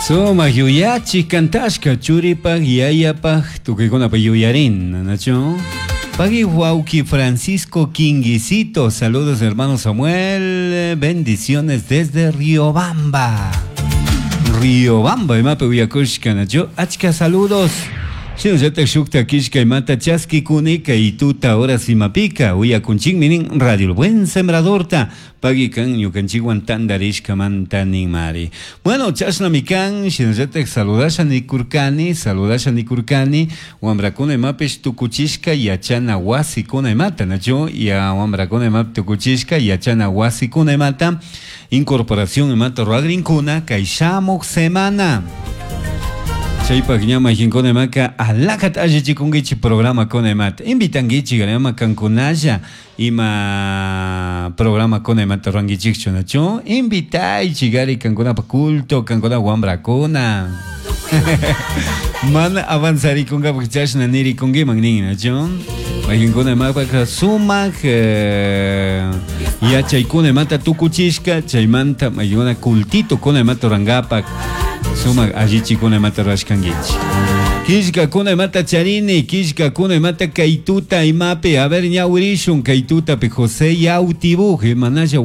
Sumak yuyachik kantashka churipak yayapak tukuykunapa yuyarin, nachu? Pagui wawki Francisco Quinguisito, saludos hermano Samuel, bendiciones desde Riobamba. Riobamba imapi uyakushka, nachu? Achka saludos. Shinallatak shukta killka imata chaskikuni kay tuta horas imapika uyakunchikmi nin Radio El Buen Sembradorta pagui kan ñukanchikwan tandarishkamanta ninmari. Bueno, chashnami kan, shinallatak saludasha nikurkani, saludasha nikurkani, wambrakuna imapish tukuchishka yachana wasikuna imata, nachu? Ya wambrakuna imapi tukuchishka yachana wasikuna imata, incorporación imata ruagrinkuna kay shamuk semana. Chaypak ña mayqinkuna imaka alaqata allichikunkichik programakuna imata invitankichik ama kankunalla ima programakuna imata rurankichikchu nachu invitaychik ari kankunapa culto kankuna wambrakuna mana avanzarikunkapak chashna nirikunkiman nin nachu mayqinkuna imapaka sumak eh, yachaykuna imata tukuchishka chaymanta mayqinkuna cultitokuna imata rurankapak sumak allichikuna imata rurashkankichik. Killkakuna imata charini, killkakuna imata kay tuta imapi, a ver ñawirishun kay tutapi José Yautibuj, manalla.